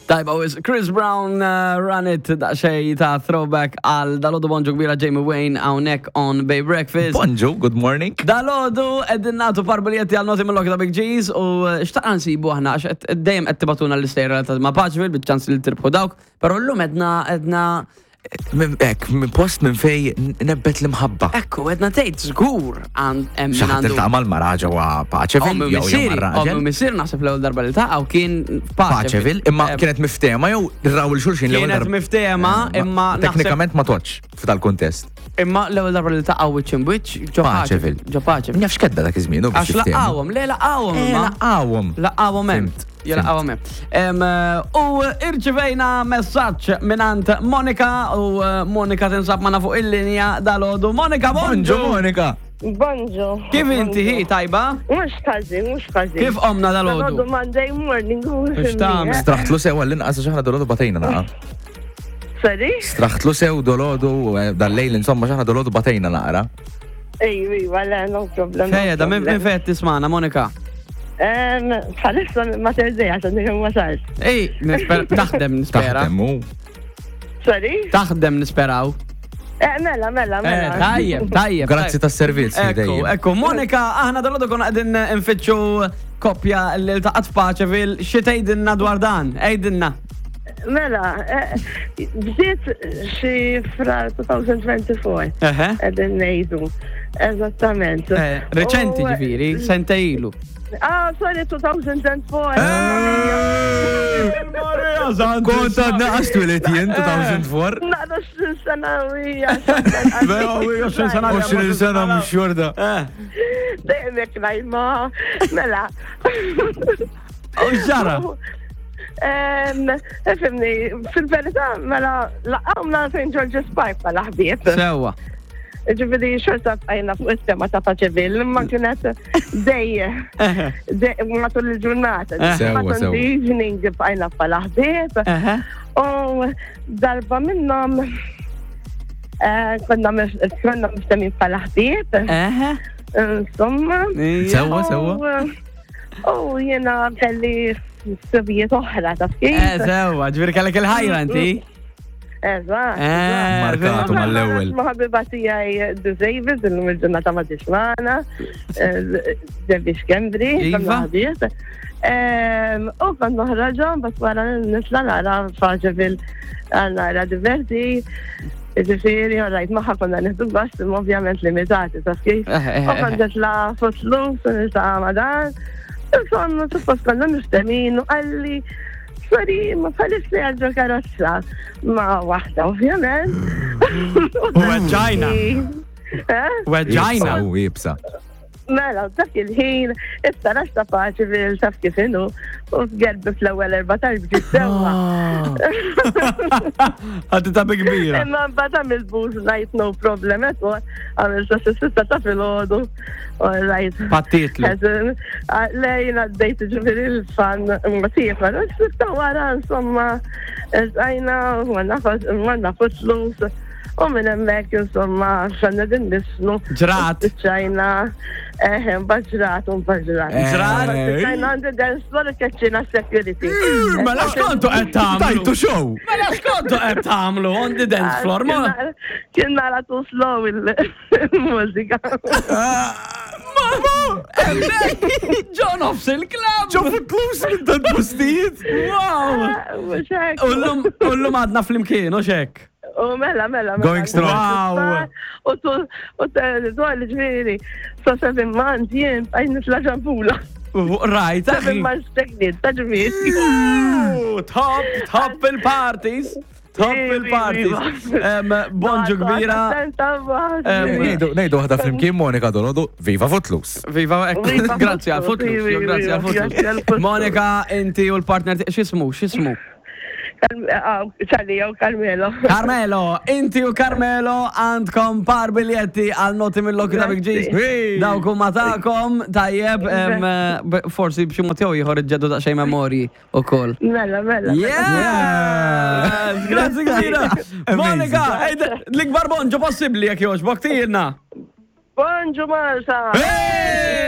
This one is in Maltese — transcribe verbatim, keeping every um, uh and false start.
Tajba, wis Chris Brown uh, Run It, daqsxejn ta' throwback għal dalgħodu. Bonġu kbira, Jamie Wayne hawnhekk on Bay Breakfast. Bonġu, good morning. Dalgħodu qegħdin nagħtu par biljetti għal Naughty Mill-Loki ta' Big G's u uh, xtaqna nsibu aħna għax qed- dejjem qed tibagħtuna l-istejjer ta' ma' Paceville bit-ċans li tirbħu dawk, però llum edna edna Minn ek, minn post minn fej nebbet l-imħabba. Ekku, edna tgħid żgur għand hemm min Xi ħadd għandu iltaqa' mal-mara ġewwa Paceville Ommi jew jew missieri, mar-raġel. ommi missieri naħseb l-ewwel darba li ltaqgħu kien Paceville, imma Eh, kienet miftehma jew raw 'il xulxin l-ewwel Kienet darba? miftehma, Eh, imma naħseb- Teknikament ma toċ f'dal kuntest. Imma l-ewwel darba li ltaqgħu wiċċ in wiċċ ġo Paceville. Ġo Paceville. Nafx kedda dak iż-żmien u biex Għax jiftehmu. laqgħuhom, le laqgħuhom Eh, imma. laqgħuhom. Laqgħuhom hemm. Fhimt, Ja, laqgħuhom hemm. Em, eh, U irċivejna messaġġ mingħand Monika u eh, Monika tinsab magħna fuq il-linja dalgħodu. Monika, Bonġu, bonġu! Monika. Bonġu. Kif inti hi tajba? Mhux ħażin, mhux ħażin. Kif qomna Dalgħodu dalgħodu? Monday morning. Mhux tagħmel. Straħtlu sew għall-inqas għax aħna dalgħodu batejna naqa. Sorry? Straħtlu sew dalgħodu eh, dal-lejl insomma x'aħna dalgħodu batejna naqra. Ej, iva, le, no problem. no Fejja, da minn problem. minn fejn tismana, Monika? Em, Bħalissa ma terżej għax għandi wasalt. Ej, nisper- taħdem nispera. Taħdem u Sorry? Taħdem nisperaw. Eh, mela, mela, Eh, mela. tajjeb, tajjeb. Grazzi tajjeb. tas-servizz Ekku, dejjem. ekku, Monika, aħna dalgħodu konna qegħdin nfittxu koppja li ltaqgħet f'Paceville, xi tgħidilna dwar dan? Għidilna. Mela, eh, bdiet xi fra elfejn u erbgħa u għoxrin. Eħe. Qegħdin ngħidu. Eżattament. Eh, Reċenti U- ġifieri, sentejn ilu. Ah, sorry, elfejn u erbgħa. Kont għadna għax twelidt jien elfejn u erbgħa. Naqra sena u hija. għoxrin sena. għoxrin sena mhux xorta. Eh, Dejjem jekk ngħid mela. U x'ġara? Em, Ifhimni, fil-verità, mela, ltqajna Saint George's Park bħala ħbieb. Sewwa. Ġifieri, xorta bqajna fuq il-tema ta' Paceville, imma kienet dej, Eħe. dej, matul il-ġurnata. Eh. Sewwa, Matul sewwa. the evening bqajna bħala ħbieb. Eħe. U darba minnhom eh, konna mif- konna miftehmin bħala ħbieb, Eħe. insomma. Ija. Sewwa, sewwa. U jena kelli ħsibijiet oħra ta' Eh, kif. sewwa, ġifieri kellek il-ħajra inti. Eżatt. Eh, Markatu mal-ewwel. Ma ħabiba tiegħi Davis, illum il-ġurnata ma tismana, Debbie Schembri, Iva. konna ħbieb. Em, U kont noħroġhom, bas wara nitla nara Paceville, nara diverti. Ġifieri, rajt magħha konna nieħdu gost, imma ovvjament limitati, taf kif. Eh, eh, U eh, kont nitla Footloose, nitla ma' dan. Insomma, suppost konna miftehmin u qalli, sorry, ma bħalissa għadġo karozza. Ma waħda, ovvjament. U weġġajna. Eh? Weġġajna. U iebsa. Mela, dak il-ħin, it-taraġ ta' Paceville, taf kif inhu, u f'gerbi fl-ewwel erbatax bġiet sewwa. Għaddi ta' bi kbira. Imma mbagħad għamil booze night, no problem at all. Għamil sa sitta ta' filgħodu. All right. Pattitlu. Le, jina għaddejt ġifieri l-fun, ma tifa, sitta wara, insomma, għajna, għanna Footloose. U minn hemmhekk, insomma, xanna din nisnu. Ġrat. Ċajna, eh, baġrat, un baġrat. Eh. Ġrat. ċajna għandi dance floor keċċina security. Mela x'kontu qed tagħmlu? Tajtu show! Mela x'kontu qed tagħmlu on the dance floor? Ma Kien nara too slow il-mużika. Hemmhekk ġo nofs il-club. Ġo Footloose minn dan postijiet! Wow! Mhux hekk. U llum u llum għadna flimkien, u xek. U mela, mela, mela. Going strong. Wow. U tu, u t-dwar ġifieri, so seven months jien bqajt nitla ġampula. Right, Seven months pregnant, ta' ġifieri. Ooh, Top, top il-parties. Top il-parties. Em, Bonġu kbira. Em, Ngħidu ngħidu waħda flimkien Monika dalgħodu, Viva Footloose! Viva, ekku, Viva grazzi għal Footloose, Footloose, iva, grazzi għal iva, grazzi għal Footloose. Footloose. Monika, inti u l-partner, x'ismu, x'ismu? Charlie, jew Carmelo. Carmelo, inti u Carmelo għandkom par biljetti għal Naughty Mill-Loki ta' Big G's. Hey! Dawk huma tagħkom, tajjeb, em, b- forsi b'xi mod jew ieħor iġġeddu daqsxejn memorji ukoll. Mela, mela. Yeah! Grazzi kbira. Monika, ejde, l-ikbar bonġu possibbli jekk jogħġbok tgħidilna. Bonġu Malta! Hey!